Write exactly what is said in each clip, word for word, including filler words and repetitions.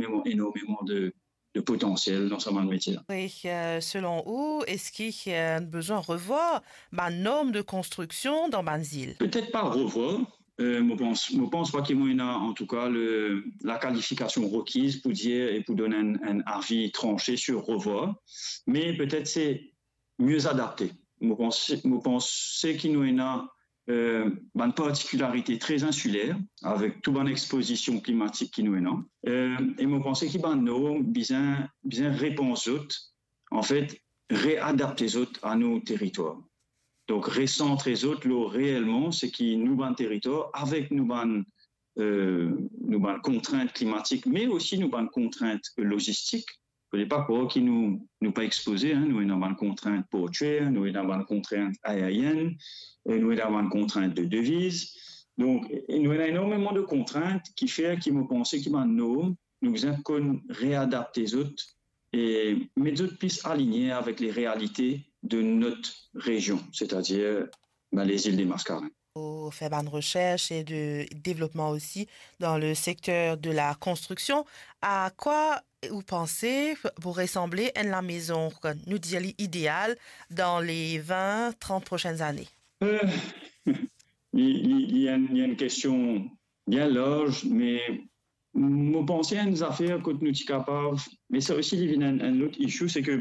enormeman, enormeman de, de potansiel dan sa bann metie la. E, euh, selon ou, eski, euh, nou bizin revwar bann norm de konstriksion dan bann zil? Petet pa revwar. Euh, mo pans, mo pans pa ki mo ena, antouka, le, lakalifikasion rekiz pou dir e pou donn enn, enn avi transe sir revwar. Me petet se mie adapte. Mo panse, mo panse ki nou ena, euh, bann partikilarite tre insiler, avek tou bann ekspozision klimatik ki nou ena. Euh, e mo panse ki bann norm bizin, bizin repans zot, anfet, readapte zot a nou teritwar. Donk, resantre zot lor reelman seki nou bann teritwar, avek nou bann, euh, nou bann kontrint klimatik, me osi nou bann kontrint lozistik. Fode pa krwar ki nou, nou pa ekspoze, hein, nou ena bann kontrint portwier, nou ena bann kontrint aerienn, e nou ena bann kontrint de deviz. Donk, e nou ena enormeman de kontrint ki fer ki mo panse ki bann norm, nou bizin konn readapte zot e met zot plis aligne avek le realite de not rezion, setadir, ben, lezil de Maskarenn. Ou fer bann resers e de devlopman osi dan le sekter de la konstriksion. A kwa ou panse pou resanble enn lamezon, nou dir li ideal, dan le vin, trant prosenn zane? Euh, li, li, li enn, li enn kestion bien larz, me mo panse enn zafer kot nou ti kapav, me sa osi li vinn enn, enn lot issue, se ke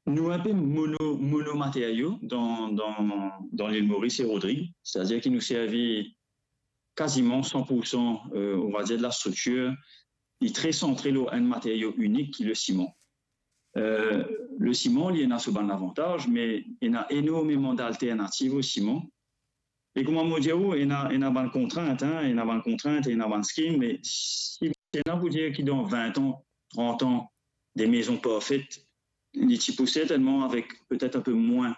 nou enpe mono, monomaterio dan, dan, dan Lil Moris e Rodrig, setadir ki nou servi kaziman san pou san, euh, on va dire, de la striktir, li tre santre lor enn materio inik ki le siman. Euh, le siman, li ena so bann lavantaz, me ena enormeman d'alternativ o siman. E kouma mo dir ou, ena, ena bann kontrint, hein, ena bann kontrint, ena bann scheme, me si, si ena pou dir ki dan vin an, trant an, de mezon parfet, li ti pou sertennman avek petet enpe mwin,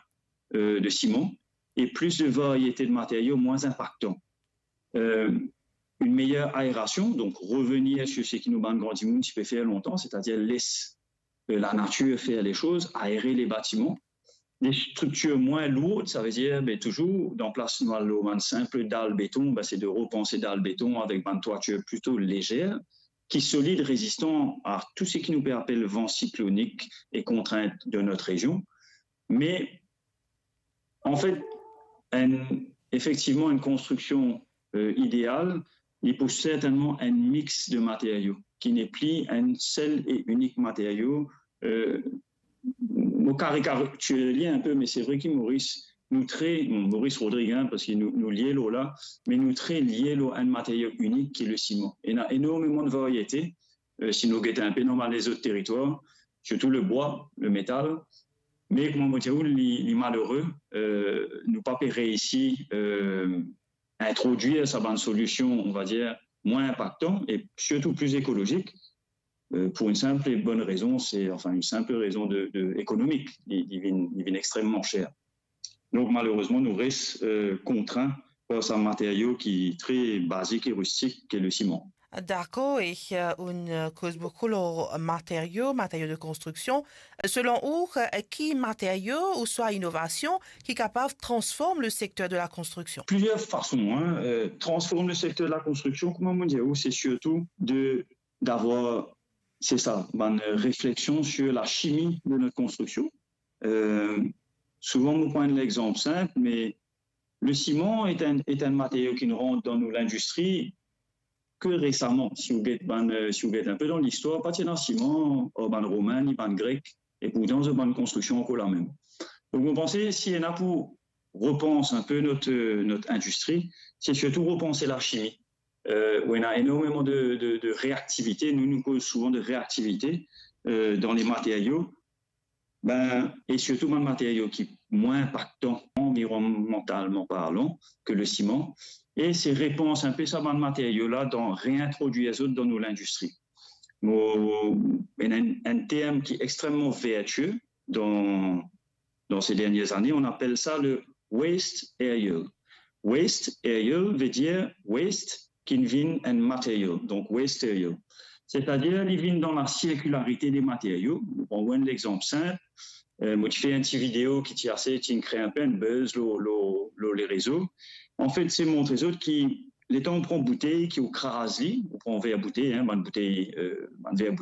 euh, de siman e plis de variete de materio mwin inpaktan. Euh, une meilleure aération, donc revenir sur ce ki nou bann gran dimoun ti pe fer lontan, setadir les, euh, lanatir fer le soz, aere le batiman. Des structures moins lourdes, sa ve dir, ben, touzour, dan plas nou al lor bann sinp dal beton, ben, se de repanse dal beton avek bann twatir plito lezer, ki solid, rezistan a tou seki nou pe apel van siklonik e kontrint de not rezion. Me, anfet, enn, efektivman, enn konstriksion, euh, ideal, li pou sertennman enn mix de materio, ki nepli enn sel e inik materio. Euh, mo karikatir li enpe, me se vre ki Moris, nou tre, bon, Moris Rodrig, hein, parski nou, nou lie lor la, me nou tre lie lor enn materio inik ki le siman. Ena enormeman de variete, euh, si nou get enpe dan bann lezot teritwar, sirtou le bwa, le metal. Me kouma mo dir ou, li, li malere, euh, nou pa pe reisi, euh, introdwir sa bann solision, on va dir, mwin inpaktan e sirtou pli ekolozik, euh, pou enn sinp e bonn rezon, se, anfin, enn sinp rezon de, de ekonomik, li, li vinn, li vinn extreman ser. Donk, malerezman, nou res, euh, kontrin par sa materio ki tre bazik e ristik, ki le siman. Dakor, e, euh, ou, euh, koz boukou lor materio, materio de konstriksion. Selon ou, euh, ki materio ouswa inovasion ki kapav transform le sekter de la konstriksion? Plizier fason, hein, euh, transform le sekter de la konstriksion, kouma mo dir ou, se sirtou de, d'avoir, se sa, bann refleksion sur la chimie de notre construction. Euh, souvan, mo pran enn lexanp sinp, me le siman est un, est un matériau ki rant dan nou lindistri ke resaman. Si ou get bann, euh, si ou get enpe dan listwar, pa ti ena siman, ar bann Romin, ni bann Grek, e pourtan zot bann konstriksion ankor lamem. Donk, mo panse, si ena pou repans enpe not, euh, not indistri, se sirtou repanse lachimi. Euh, ou ena enormeman de, de, de reaktivite. Nou, nou koz souvan de reaktivite, euh, dan le materio. Ben, e sirtou bann materio ki mwin inpaktan anvironmantalman parlan ke le siman. E se repans enpe sa bann materio la dan reintrodwir zot dan nou lindistri. Mo, ena enn, enn term ki extreman vertie dan, dan ces dernières années, on appelle ça le waste aerial. Waste aerial ve dir waste ki vinn enn materio, donk waste aerial. Setadir, li vinn dan la sirkilarite de materio. Mo pran enn lexanp sinp. Euh, mo ti fer enn ti video ki ti ase, ti kre enpe enn buzz lor, lor, lor le rezo. Anfet, se montre zot ki letan ou pran boutey, ki ou kraz li, ou pran ver boutey, hein, bann boutey, euh, bann ver boutey,